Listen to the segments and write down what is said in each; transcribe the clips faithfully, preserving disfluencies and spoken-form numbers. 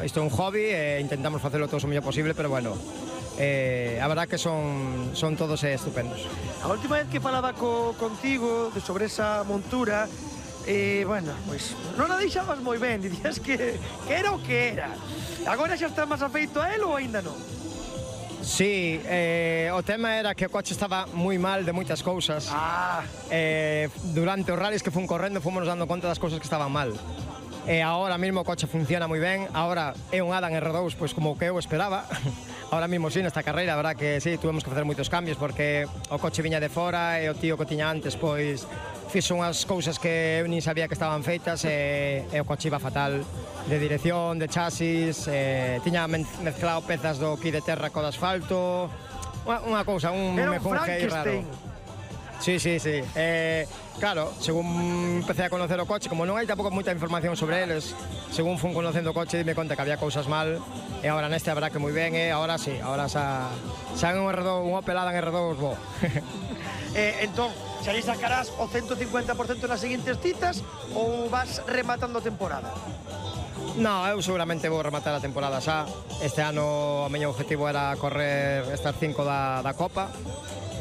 isto é un hobby e intentamos facelo todo o mellor posible, pero bueno, eh, a verdad que son, son todos eh, estupendos. A última vez que falaba co, contigo de sobre esa montura, eh, bueno, pois pues, non a deixabas moi ben, dicías que, que era o que era. Agora xa está máis afeito a él ou aínda non? Sí, eh, o tema era que o coche estaba moi mal de moitas cousas. Ah. Eh, durante os rallies que fun correndo fomos dando conta das cousas que estaban mal. E agora mesmo o coche funciona moi ben. Agora é un Adam R dous, pois como o que eu esperaba. Ahora mesmo sí, nesta carreira, a verdad que sí, tuvemos que facer moitos cambios porque o coche viña de fora e o tío que tiña antes, pois fixo unhas cousas que eu nin sabía que estaban feitas e, e o coche iba fatal de dirección, de chasis, e, tiña mezclado pezas do ki de terra co de asfalto, unha, unha cousa, un era un mejunje raro. Sí, sí, sí. Eh, claro, según empecé a conocer o coche, como non hai tampouco moita información sobre eles, según fun conocendo o coche, dime conta que había cousas mal, e agora neste habrá que moi ben, e agora sí, agora xa, xa un R dous, un Opel Adam R dous, bo. eh, entón, xa lhe sacarás o ciento cincuenta por ciento nas seguintes citas ou vas rematando a temporada? No, eu seguramente vou rematar a temporada xa. Este ano o meu objetivo era correr estas cinco da, da Copa.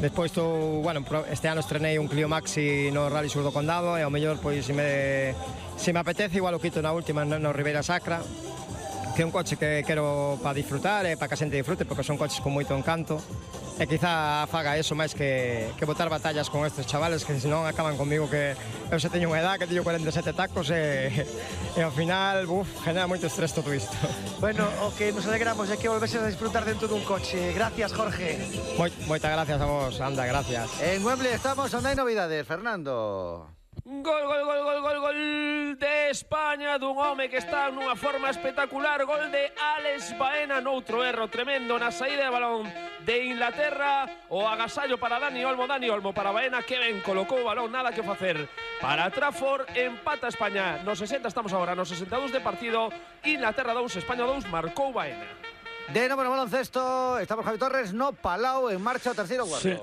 Despois tô, bueno, este ano estrenei un Clio Maxi no Rally Sur do Condado e ao mellor, pois, se me, se me apetece, igual o quito na última no, no Ribeira Sacra, que é un coche que quero para disfrutar e para que a xente disfrute, porque son coches con moito encanto. E quizá faga eso máis que, que botar batallas con estes chavales que senón acaban comigo, que eu xa teño unha edad que teño cuarenta e sete tacos e, e ao final, buf, genera moito estrés todo isto. Bueno, o que nos alegramos é que volveses a disfrutar dentro dun coche. Gracias, Jorge. Moi, moitas gracias a vos, anda, gracias. En Wembley estamos, onde hai novidades, Fernando. Gol, gol, gol, gol, gol, gol de España dun home que está nunha forma espectacular. Gol de Alex Baena, noutro erro tremendo na saída de balón de Inglaterra. O agasallo para Dani Olmo, Dani Olmo para Baena, que ben colocou o balón, nada que facer para Trafford. Empata España nos sesenta, estamos agora nos sesenta e dous de partido. Inglaterra dous, España dous, marcou Baena. De novo no baloncesto, estamos Javi Torres, no Palau, en marcha o terceiro cuarto. Sí.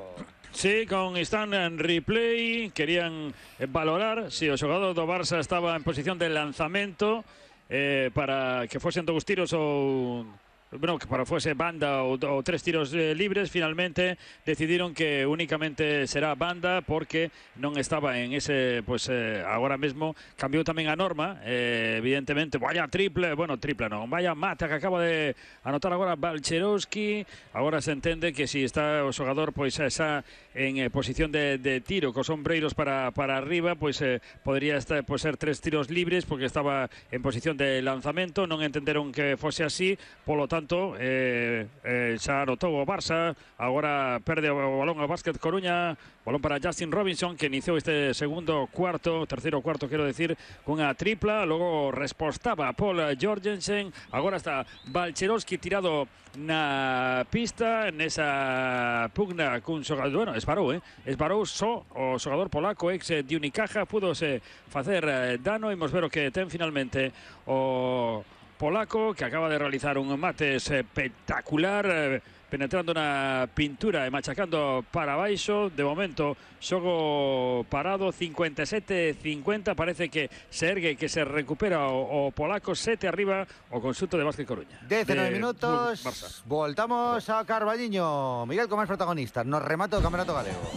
Sí, con instant en replay querían valorar se si o xogador do Barça estaba en posición de lanzamento eh, para que fosen dous tiros ou... bueno, que para fuese banda o, o tres tiros eh, libres. Finalmente decidieron que únicamente será banda porque non estaba en ese, pues eh, agora mesmo cambiou tamén a norma, eh, evidentemente. Vaya triple, bueno, triple non, vaya mata que acaba de anotar agora Balcherowski. Agora se entende que si está o xogador pois esa en eh, posición de, de tiro cos ombreiros para, para arriba, pois eh, podría estar, pois, ser tres tiros libres porque estaba en posición de lanzamento. Non entenderon que fose así, polo tanto Tanto, eh, eh, xa anotou o Barça, agora perde o balón ao Básquet Coruña, balón para Justin Robinson, que iniciou este segundo cuarto, terceiro cuarto, quero decir, cunha tripla, logo respostaba Paul Jorgensen, agora está Balcherowski tirado na pista, nesa pugna cun xogador, bueno, esparou, eh? esparou só o xogador polaco, ex de Unicaja, pudose facer eh, dano. Imos ver o que ten finalmente o polaco, que acaba de realizar un mate espectacular, eh, penetrando na pintura e machacando para baixo. De momento, xogo parado, cincuenta e sete cincuenta, parece que se ergue, que se recupera o, o polaco. Sete arriba o conxunto de Básquet Coruña. decenove minutos, voltamos a Carballiño. Miguel, como máis protagonistas, nos remata o Campeonato Galego.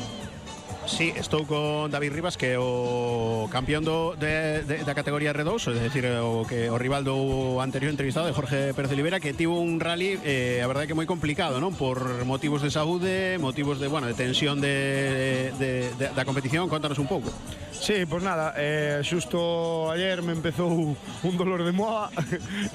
Sí, estou con David Rivas, que é o campeón do, de, de, da categoría R dous, é dicir, o, que, o rival do anterior entrevistado, de Jorge Pérez de Olivera, que tivo un rally, eh, a verdade que moi complicado, non? Por motivos de saúde, motivos de, bueno, de tensión de, de, de, da competición. Contanos un pouco. Sí, pois pues nada, eh, xusto ayer me empezou un dolor de moa,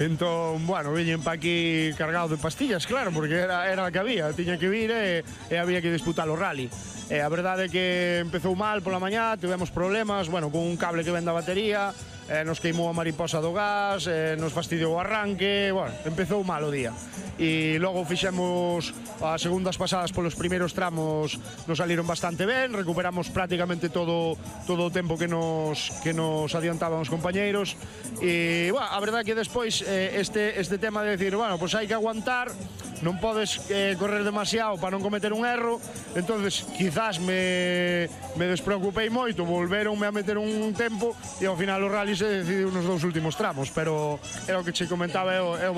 entón, bueno, viñen pa aquí cargado de pastillas, claro, porque era, era a que había, tiña que vir e, e había que disputar o rally. E a verdade é que empezou mal pola mañá, tivemos problemas, bueno, con un cable que ven da batería, eh, nos queimou a mariposa do gas, eh, nos fastidiou o arranque, bueno, empezou mal o día. E logo fixemos as segundas pasadas polos primeiros tramos, nos saliron bastante ben, recuperamos prácticamente todo todo o tempo que nos que nos adiantaban os compañeiros. E, bueno, a verdade é que despois eh, este este tema de decir, bueno, pois pues hai que aguantar, non podes eh, correr demasiado para non cometer un erro. Entonces quizás me, me despreocupei moito, volveronme a meter un tempo e ao final o rally se decidiu nos dous últimos tramos, pero era o que che comentaba, é o, é o